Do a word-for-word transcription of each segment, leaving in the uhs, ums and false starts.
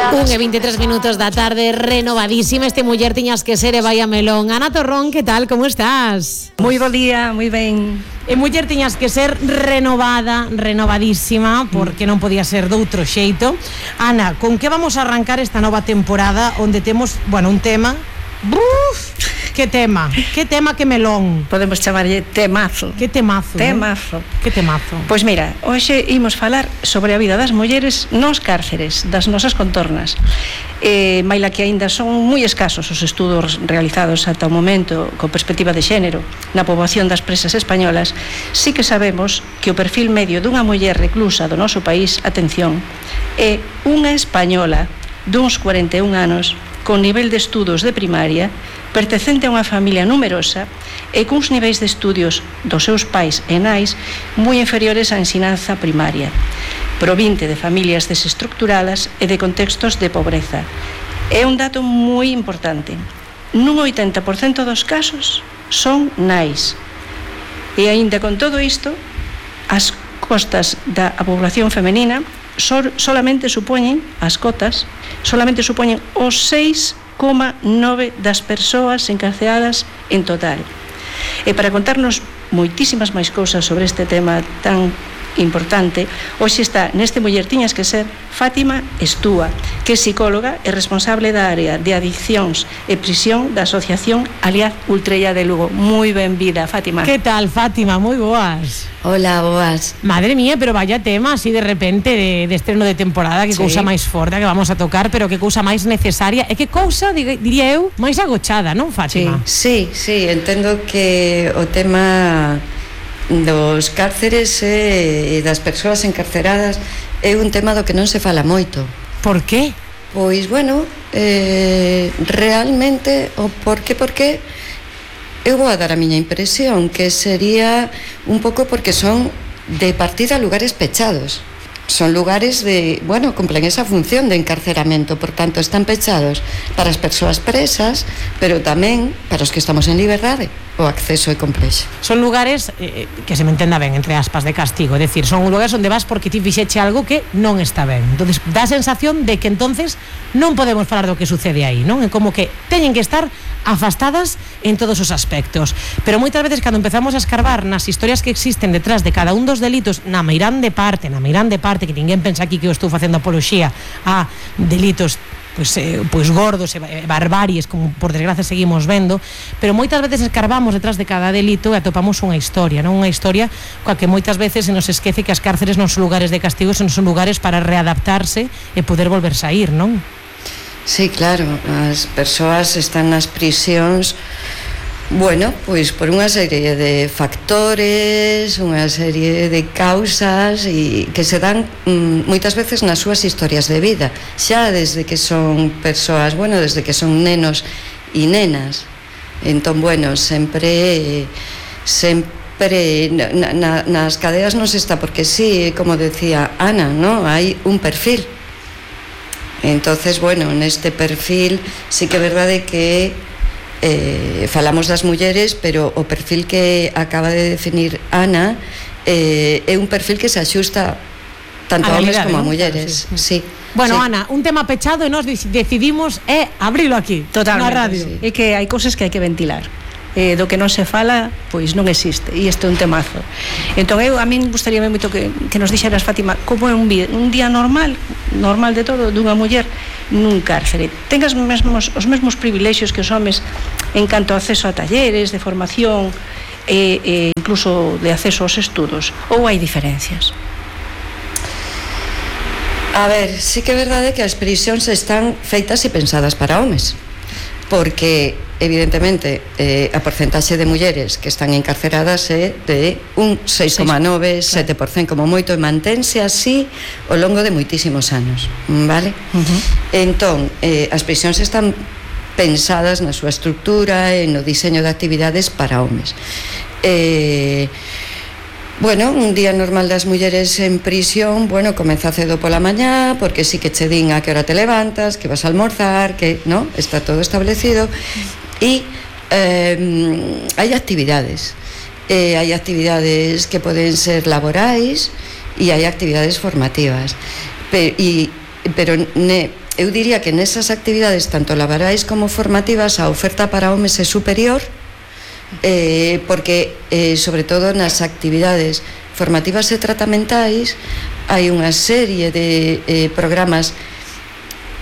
Un e veintitrés minutos da tarde, renovadísima este Muller Tiñas que Ser e vai a melón. Ana Torrón, que tal, como estás? Moi bo día, moi ben. E Muller Tiñas que Ser renovada, renovadísima, porque non podía ser doutro xeito. Ana, con que vamos a arrancar esta nova temporada onde temos, bueno, un tema... Uf, que tema, que tema, que melón. Podemos chamarlle temazo. Que temazo, Temazo. Eh? Que temazo. Pois mira, hoxe imos falar sobre a vida das mulleres nos cárceres, das nosas contornas. Eh, maila que aínda son moi escasos os estudos realizados ata o momento co perspectiva de xénero na poboación das presas españolas, sí que sabemos que o perfil medio dunha muller reclusa do noso país, atención, é unha española duns cuarenta e un anos, con nivel de estudos de primaria, pertencente a unha familia numerosa e cuns niveis de estudios dos seus pais e nais moi inferiores á ensinanza primaria, provinte de familias desestructuradas e de contextos de pobreza. É un dato moi importante. Nun oitenta por cento dos casos son nais. E aínda con todo isto, as costas da población femenina sol, solamente supoñen, as cotas, solamente supoñen os seis coma nove das persoas encarceradas en total. E para contarnos moitísimas máis cousas sobre este tema tan importante, hoxe está neste Muller Tiñas que Ser Fátima Estúa, que é psicóloga e responsable da área de adiccións e prisión da Asociación Aliad Ultrella de Lugo. Moi benvida, Fátima. Que tal, Fátima? Moi boas. Hola, boas. Madre mía, pero vaya tema así de repente de, de estreno de temporada, que sí. Cousa máis forte que vamos a tocar, pero que cousa máis necesaria e que cousa, diría eu, máis agochada, non, Fátima? Sí, sí, sí, entendo que o tema dos cárceres e das persoas encarceradas é un tema do que non se fala moito. Por qué? Pois, bueno, eh, realmente, o por qué, por qué, eu vou a dar a miña impresión, que sería un pouco porque son de partida lugares pechados. Son lugares de, bueno, cumplen esa función de encarceramento, por tanto, están pechados para as persoas presas, pero tamén para os que estamos en liberdade. O acceso é complexo. Son lugares, eh, que se me entenda ben, entre aspas, de castigo, é dicir, son lugares onde vas porque ti fixeche algo que non está ben. Entonces, dá a sensación de que entonces non podemos falar do que sucede aí, non? É como que teñen que estar afastadas en todos os aspectos. Pero moitas veces, cando empezamos a escarbar nas historias que existen detrás de cada un dos delitos, na meirán de parte, na meirán de parte, que ninguén pensa aquí que eu estou facendo apoloxía a delitos pois, eh, pois gordos e barbaries, como por desgracia seguimos vendo, pero moitas veces escarbamos detrás de cada delito e atopamos unha historia, non? Unha historia coa que moitas veces se nos esquece que as cárceres non son lugares de castigo, son lugares para readaptarse e poder volver sair, non? Sí, claro, as persoas están nas prisións, bueno, pois por unha serie de factores, unha serie de causas e que se dan mm, moitas veces nas súas historias de vida, xa desde que son persoas, bueno, desde que son nenos e nenas. Entón, bueno, sempre sempre na, na, nas cadeas non se está, porque sí, como decía Ana, ¿no? Hai un perfil. Entonces, bueno, neste perfil sí que é verdade que eh, falamos das mulleres, pero o perfil que acaba de definir Ana eh, é un perfil que se axusta tanto a, a homes como a mulleres, ¿no? Sí. Bueno, sí. Ana, un tema pechado e nós decidimos é abrilo aquí, totalmente, na radio. Sí. É que hai cousas que hai que ventilar. Eh, do que non se fala, pois non existe, e isto é un temazo. Entón eu, a min gustaría moito que, que nos dixeras, Fátima, como é un, un día normal, normal de todo, dunha muller nun cárcere. Ten os mesmos, os mesmos privilexios que os homes en canto a acceso a talleres de formación e, e incluso de acceso aos estudos, ou hai diferencias? A ver, sí que é verdade que as prisións están feitas e pensadas para homes, porque evidentemente eh, a porcentaxe de mulleres que están encarceradas é de un seis coma nove, sete por cento como moito, e mantense así ao longo de moitísimos anos, vale? Uh-huh. Entón, eh, as prisións están pensadas na súa estructura e no diseño de actividades para homes. Eh, bueno, un día normal das mulleres en prisión, bueno, comeza cedo pola mañá, porque sí que che din a que hora te levantas, que vas a almorzar, que, no, está todo establecido, e eh, hai actividades, eh, hai actividades que poden ser laborais e hai actividades formativas, pero, e, pero ne, eu diría que nesas actividades, tanto laborais como formativas, a oferta para homes é superior, eh, porque, eh, sobre todo nas actividades formativas e tratamentais, hai unha serie de eh, programas,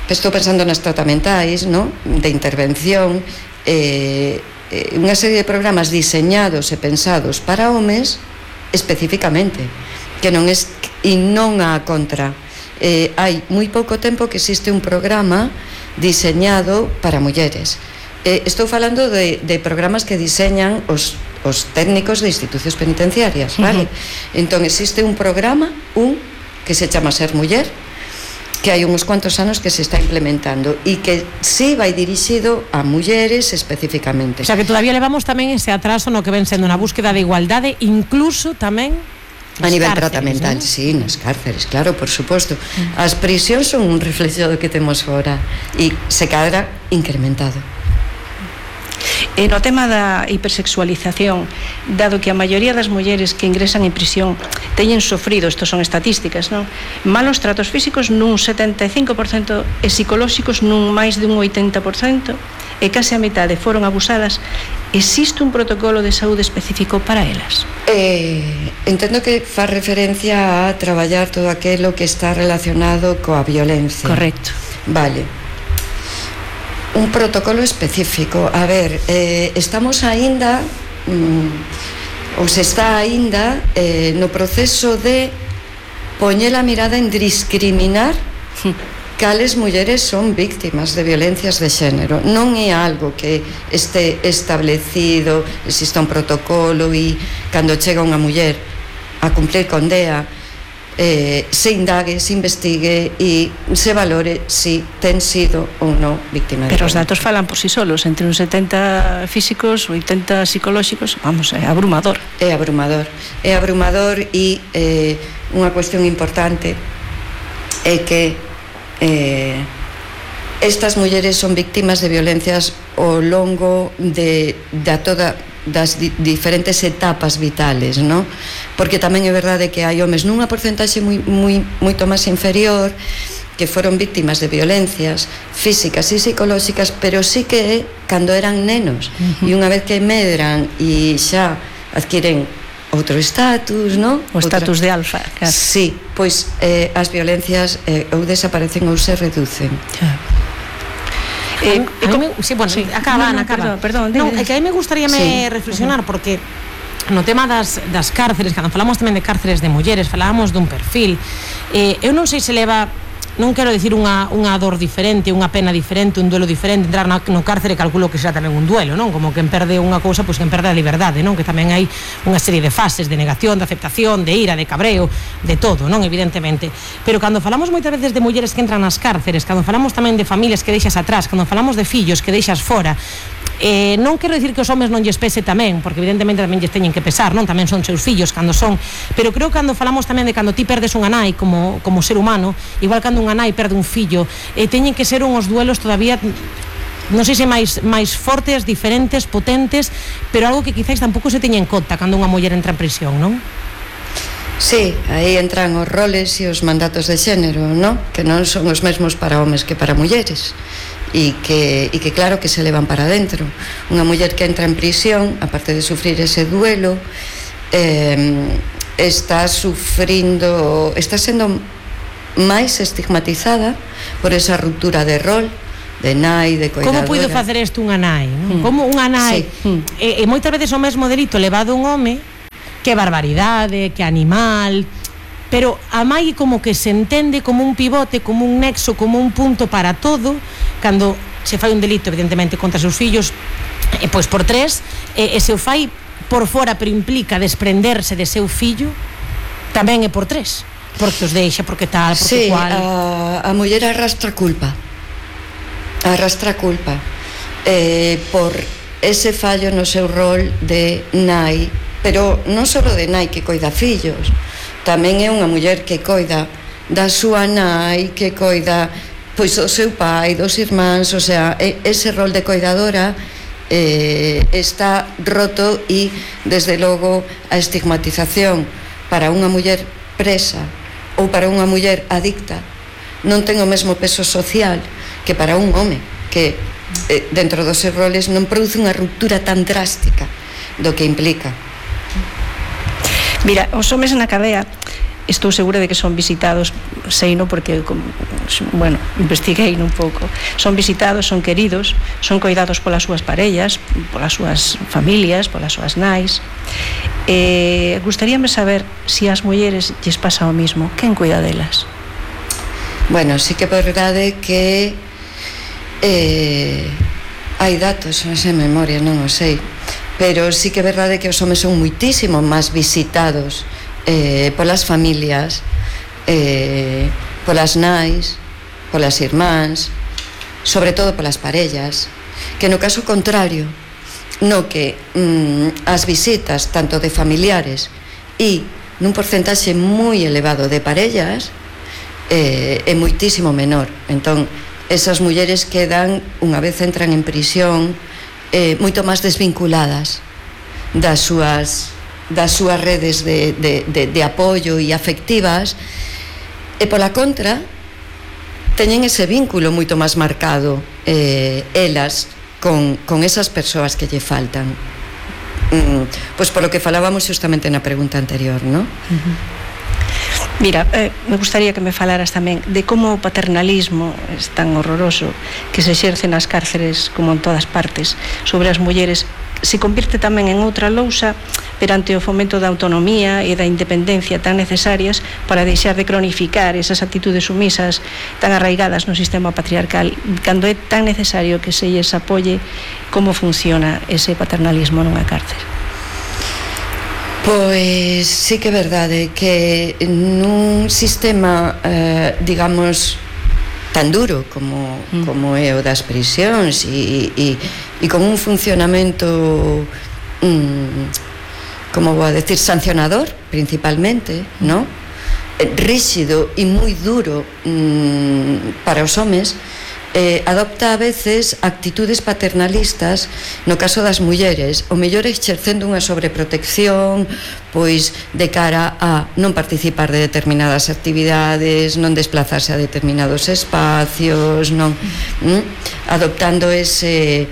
estou pensando nas tratamentais, ¿no?, de intervención, eh, eh, unha serie de programas diseñados e pensados para homes especificamente, que non é, e non a contra. Eh, hai moi pouco tempo que existe un programa diseñado para mulleres. Eh, estou falando de, de programas que diseñan os, os técnicos de institucións penitenciarias, vale? Uh-huh. Entón existe un programa, un que se chama Ser Muller, que hai uns cuantos anos que se está implementando e que sí vai dirixido a mulleres especificamente. O sea que todavía levamos tamén ese atraso no que ven sendo na búsqueda de igualdade, incluso tamén a nivel cárceres, tratamental, ¿no? Sí, nas cárceres, claro, por suposto. As prisións son un reflexo do que temos fora e se cadra incrementado. E no tema da hipersexualización, dado que a maioría das mulleres que ingresan en prisión teñen sofrido, isto son estatísticas, non? Malos tratos físicos nun setenta e cinco por cento e psicolóxicos nun máis de un oitenta por cento, e case a metade foron abusadas. Existe un protocolo de saúde específico para elas? Eh, entendo que fa referencia a traballar todo aquilo que está relacionado coa violencia. Correcto. Vale. Un protocolo específico. A ver, eh, estamos aínda, mm, ou se está aínda, eh, no proceso de poñer a mirada en discriminar cales mulleres son víctimas de violencias de xénero. Non é algo que este establecido, exista un protocolo e cando chega unha muller a cumplir condea, eh, se indague, se investigue e se valore si ten sido ou non víctima de violencia. Pero os datos falan por si solos, entre uns setenta físicos, oitenta psicolóxicos, vamos, é abrumador. É abrumador, é abrumador e eh, unha cuestión importante é que Eh, estas mulleres son víctimas de violencias ao longo de, de toda das di, diferentes etapas vitales, ¿no? Porque tamén é verdade que hai homes nunha porcentaxe moi, moi, moito máis inferior que foron víctimas de violencias físicas e psicolóxicas, pero sí que é cando eran nenos. Uh-huh. E unha vez que medran e xa adquiren outro estatus, non? O estatus de alfa, claro. Sí, pois eh, as violencias eh, ou desaparecen ou se reducen. Claro. Eh, a mí, sí, bueno, sí. acaba, no, no, acaba. Perdón, perdón. Non, é que a mí me gustaría me sí. reflexionar, porque no tema das, das cárceres, cando falamos tamén de cárceres de mulleres, falábamos dun perfil. Eh, eu non sei se leva, non quero dicir unha, unha dor diferente, unha pena diferente, un duelo diferente. Entrar no, no cárcere calculo que será tamén un duelo, non? Como quen perde unha cousa, pois quen perde a liberdade, non? Que tamén hai unha serie de fases de negación, de aceptación, de ira, de cabreo, de todo, non? Evidentemente. Pero cando falamos moitas veces de mulleres que entran nas cárceres, cando falamos tamén de familias que deixas atrás, cando falamos de fillos que deixas fora, Eh, non quero dicir que os homes non lles pese tamén, porque evidentemente tamén lles teñen que pesar, non? Tamén son seus fillos cando son, pero creo que cando falamos tamén de cando ti perdes unha nai como, como ser humano, igual cando unha nai perde un fillo, eh, teñen que ser uns duelos todavía, non sei se máis, máis fortes, diferentes, potentes, pero algo que quizáis tampouco se teña en conta cando unha muller entra en prisión, non? Sí, aí entran os roles e os mandatos de xénero, non? Que non son os mesmos para homes que para mulleres. E que, e que claro que se levan para dentro. Unha muller que entra en prisión, aparte de sufrir ese duelo, eh, está sufrindo, está sendo máis estigmatizada por esa ruptura de rol, de nai, de coidadora. Como puido facer isto unha nai? Non? Mm. Como unha nai, sí. e, e moitas veces o mesmo delito levado un home, que barbaridade, que animal, pero a mai como que se entende como un pivote, como un nexo, como un punto para todo, cando se fai un delito evidentemente contra seus fillos, e pois por tres, e, e se o fai por fora pero implica desprenderse de seu fillo, tamén é por tres, porque os deixa, porque tal, porque sí, cual. a, a muller arrastra culpa, arrastra culpa eh, por ese fallo no seu rol de nai, pero non só de nai que coida fillos, tamén é unha muller que coida da súa nai, que coida pois o seu pai, dos irmáns, o sea, ese rol de coidadora eh, está roto e, desde logo, a estigmatización para unha muller presa ou para unha muller adicta non ten o mesmo peso social que para un home, que eh, dentro dos seus roles non produce unha ruptura tan drástica do que implica. Mira, os homes na cadea estou segura de que son visitados, seino porque, bueno, investiguei un pouco, son visitados, son queridos, son coidados polas súas parellas, polas súas familias, polas súas nais. Eh, gustaríame saber se as mulleres lles pasa o mismo, quen cuida delas? Bueno, sí que é verdade que eh, hai datos, non sei memoria, non o sei, pero sí que é verdade que os homes son muitísimo máis visitados Eh, polas familias, eh, polas nais, polas irmáns, sobre todo polas parellas, que no caso contrario, no que mm, as visitas tanto de familiares e nun porcentaxe moi elevado de parellas eh, é moitísimo menor. Entón, esas mulleres quedan, unha vez entran en prisión, eh, moito máis desvinculadas das súas das súas redes de, de, de, de apoio e afectivas, e pola contra teñen ese vínculo moito máis marcado eh, elas con, con esas persoas que lle faltan, mm, pois polo que falábamos justamente na pregunta anterior, non? Uh-huh. Mira, eh, me gustaría que me falaras tamén de como o paternalismo é tan horroroso que se exerce nas cárceres como en todas partes sobre as mulleres se convirte tamén en outra lousa perante o fomento da autonomía e da independencia tan necesarias para deixar de cronificar esas actitudes sumisas tan arraigadas no sistema patriarcal, cando é tan necesario que se lles apoie. Como funciona ese paternalismo nunha cárcel? Pois sí que é verdade que nun sistema, eh, digamos, tan duro como, mm. como é o das prisións e, e, e con un funcionamento mm, como vou a decir, sancionador principalmente, mm. ¿no? Rígido e moi duro mm, para os homes, eh, adopta a veces actitudes paternalistas no caso das mulleres, o mellor exercendo unha sobreprotección pois de cara a non participar de determinadas actividades, non desplazarse a determinados espacios, non mm, adoptando ese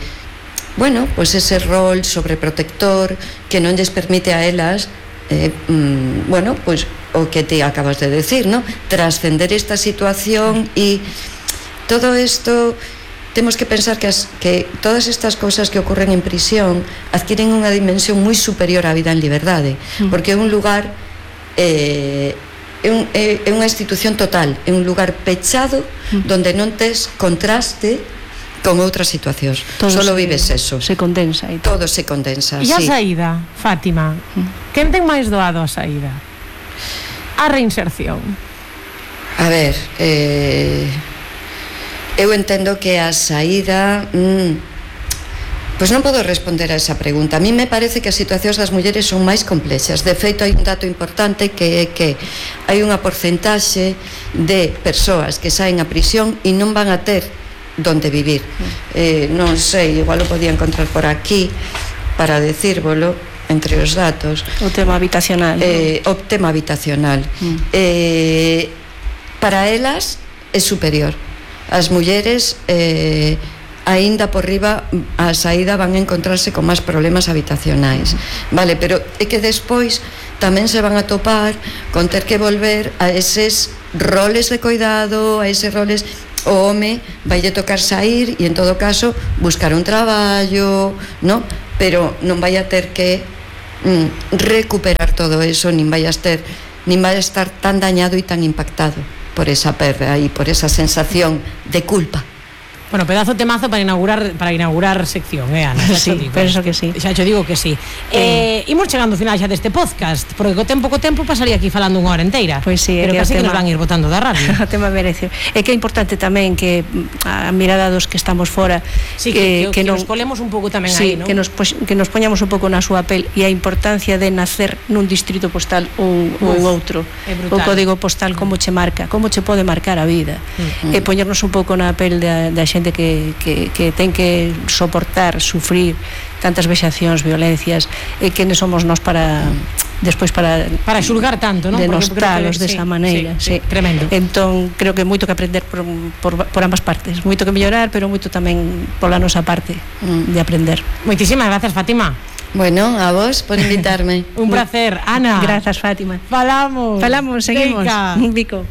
bueno, pois ese rol sobreprotector que non lles permite a elas eh, mm, bueno, pois o que te acabas de decir, ¿no? Trascender esta situación e todo isto temos que pensar que, as, que todas estas cousas que ocorren en prisión adquiren unha dimensión moi superior á vida en liberdade, mm. porque é un lugar eh, é, un, é, é unha institución total, é un lugar pechado mm. donde non tes contraste con outras situacións, todo solo se, vives eso, se condensa e todo se condensa. E a sí. saída, Fátima, mm. quen ten máis doado a saída? A reinserción? A ver, eh eu entendo que a saída mm, pois non podo responder a esa pregunta. A mí me parece que as situacións das mulleres son máis complexas. De feito, hai un dato importante que é que hai unha porcentaxe de persoas que saen a prisión e non van a ter donde vivir. eh, non sei, igual o podía encontrar por aquí para decírvolo entre os datos. O tema habitacional, eh, o tema habitacional mm. eh, para elas é superior. As mulleres eh, aínda por riba a saída van a encontrarse con máis problemas habitacionais, vale, pero é que despois tamén se van a topar con ter que volver a eses roles de cuidado, a eses roles, o home vaille tocar sair e en todo caso buscar un traballo, ¿no? Pero non vai a ter que mm, recuperar todo eso, nin vai a ter, nin vai a estar tan dañado e tan impactado por esa perda e por esa sensación de culpa. Bueno, pedazo temazo para inaugurar para inaugurar sección, eh, Ana? Sí, digo, penso que sí. Xa te digo que sí. Eh, eh, imos chegando ao final xa deste podcast, porque co tempo co tempo pasaría aquí falando unha hora enteira. Pois sí, pero que casi que tema, nos van ir botando da radio. O tema merece. É que é importante tamén que a mirada dos que estamos fora, sí, que, que, que, que non, nos colemos un pouco tamén sí, aí, ¿no? que nos que nos poñamos un pouco na súa pel e a importancia de nacer nun distrito postal ou, ou outro. O código postal como che marca, como che pode marcar a vida. Uh-huh. E poñernos un pouco na pel da, da xente que, que que ten que soportar, sufrir tantas vexacións, violencias, e que non somos nós para despois para para xulgar tanto, non? Denostalos desa maneira, sí, sí. Tremendo. Entón, creo que moito que aprender por, por, por ambas partes, moito que mellorar, pero moito tamén pola nosa parte mm. de aprender. Moitísimas gracias, Fátima. Bueno, a vos por invitarme. Un placer, Ana. Grazas, Fátima. Falamos. Falamos, seguimos. Venga. Un bico.